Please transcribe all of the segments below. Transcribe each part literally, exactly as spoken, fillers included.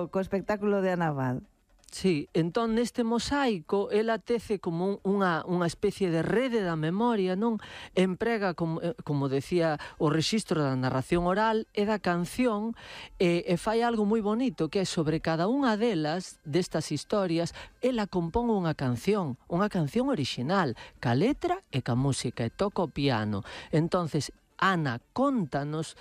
co, co espectáculo de Ana Abad. Sí, entón neste mosaico ela tece como un, unha, unha especie de rede da memoria, non? Emprega, como, como decía, o rexistro da narración oral e da canción e, e fai algo moi bonito que é sobre cada unha delas, destas historias, ela compón unha canción, unha canción orixinal, ca letra e ca música, e toca o piano. Entonces, Ana contanos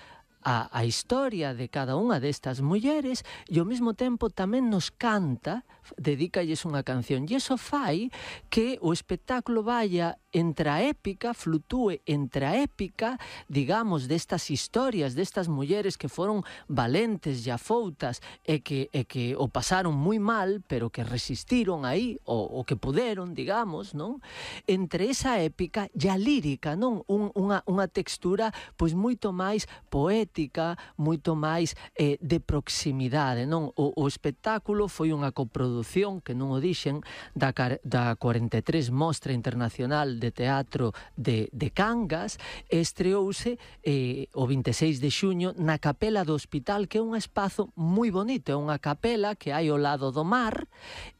A, a historia de cada unha destas mulleres e ao mesmo tempo tamén nos canta, dedícalles unha canción, e iso fai que o espectáculo vaya entre a épica, flutúe entre a épica, digamos, destas historias, destas mulleres que foron valentes e afoutas e que, e que o pasaron moi mal, pero que resistiron aí, o, o que puderon, digamos, non? Entre esa épica e a lírica, non? Un, unha, unha textura pois moito máis poética, moito máis eh, de proximidade, non? O, o espectáculo foi unha coproducción, que non o dixen, da, da cuarenta e tres Mostra Internacional de Teatro de, de Cangas, e estreouse eh, o vinte e seis de xuño na Capela do Hospital, que é un espazo moi bonito, é unha capela que hai ao lado do mar,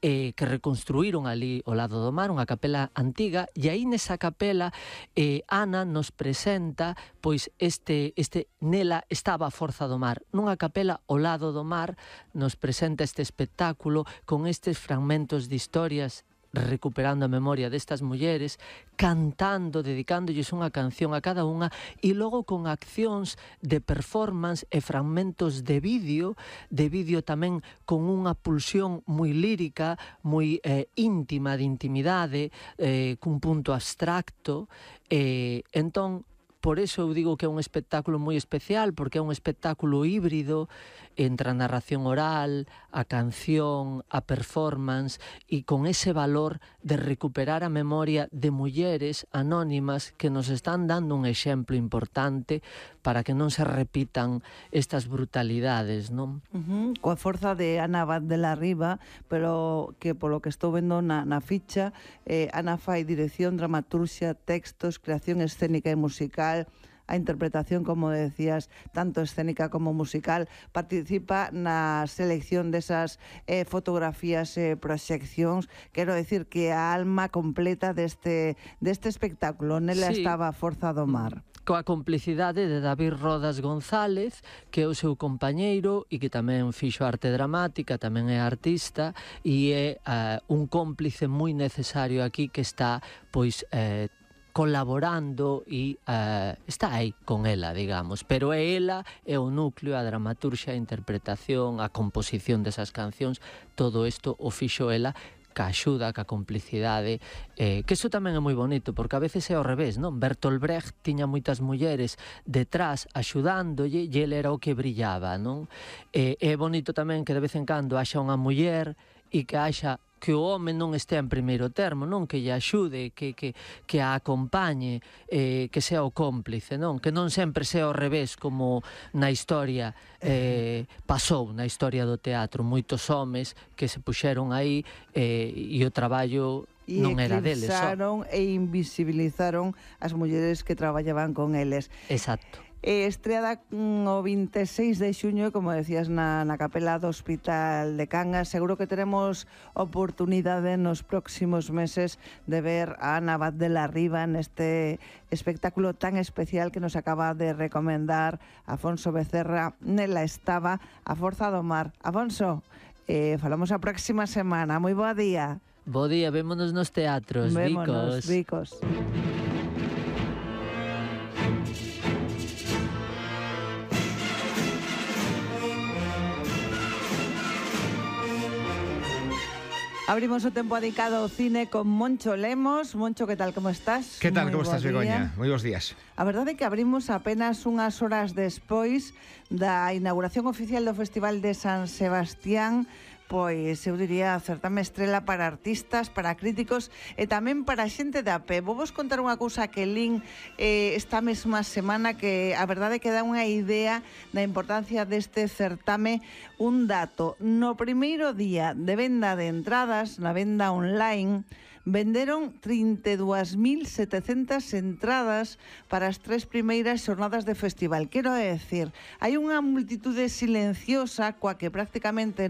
eh, que reconstruíron ali ao lado do mar, unha capela antiga, e aí nesa capela eh, Ana nos presenta pois este, este nela estaba a Forza do Mar, nunha capela ao lado do mar nos presenta este espectáculo con estes fragmentos de historias recuperando a memoria destas mulleres, cantando, dedicándolles unha canción a cada unha, e logo con accións de performance e fragmentos de vídeo, de vídeo tamén con unha pulsión moi lírica, moi eh, íntima, de intimidade, eh, cun punto abstracto, e eh, entón, por eso eu digo que é un espectáculo moi especial, porque é un espectáculo híbrido entre a narración oral, a canción, a performance, e con ese valor de recuperar a memoria de mulleres anónimas que nos están dando un exemplo importante para que non se repitan estas brutalidades, non? Uh-huh. Coa forza de Ana Abad de la Riva, pero que polo que estou vendo na, na ficha, eh, Ana fai dirección, dramaturxia, textos, creación escénica e musical, a interpretación, como decías, tanto escénica como musical, participa na selección desas eh, fotografías e eh, proxeccións. Quero decir que a alma completa deste, deste espectáculo, nela sí. Estaba a Forza do Mar. Coa complicidade de David Rodas González, que é o seu compañeiro e que tamén fixo arte dramática, tamén é artista, e é uh, un cómplice moi necesario aquí que está, pois, eh, colaborando e uh, está aí con ela, digamos, pero é ela, é o núcleo, a dramaturxia, a interpretación, a composición desas cancións, todo isto o fixo ela, ca axuda, ca complicidade, eh, que iso tamén é moi bonito, porque a veces é ao revés, non? Bertolt Brecht tiña moitas mulleres detrás axudándolle e ele era o que brillaba, non? Eh, é bonito tamén que de vez en cando haxa unha muller e que haxa que o home non estea en primeiro termo, non? Que lle axude, que, que, que a acompañe, eh, que sea o cómplice, non? Que non sempre sea ao revés, como na historia eh, pasou, na historia do teatro. Moitos homes que se puxeron aí eh, e o traballo non era deles. E eclipsaron e invisibilizaron as mulleres que traballaban con eles. Exacto. Eh, estreada o vinte e seis de xuño, como decías, na, na capela do Hospital de Cangas. Seguro que teremos oportunidade nos próximos meses de ver a Ana Abad de la Riva neste espectáculo tan especial que nos acaba de recomendar Afonso Becerra. Nela estaba a Forza do Mar. Afonso, eh, falamos a próxima semana. Moi boa día. Bo día, vémonos nos teatros, vémonos, Vicos. Vicos. Abrimos o tempo dedicado ao cine con Moncho Lemos. Moncho, que tal, como estás? Que tal, como estás, Begoña? Moi bons días. A verdade é que abrimos apenas unhas horas despois da inauguración oficial do Festival de San Sebastián. Pois eu diría certame estrela para artistas, para críticos e tamén para xente de a pé. Vou vos contar unha cousa que lin eh, esta mesma semana, que a verdade que dá unha idea da importancia deste certame. Un dato: no primeiro día de venda de entradas, na venda online, venderon trinta e dúas mil setecentas entradas para as tres primeiras xornadas de festival. Quero decir, hai unha multitude silenciosa coa que prácticamente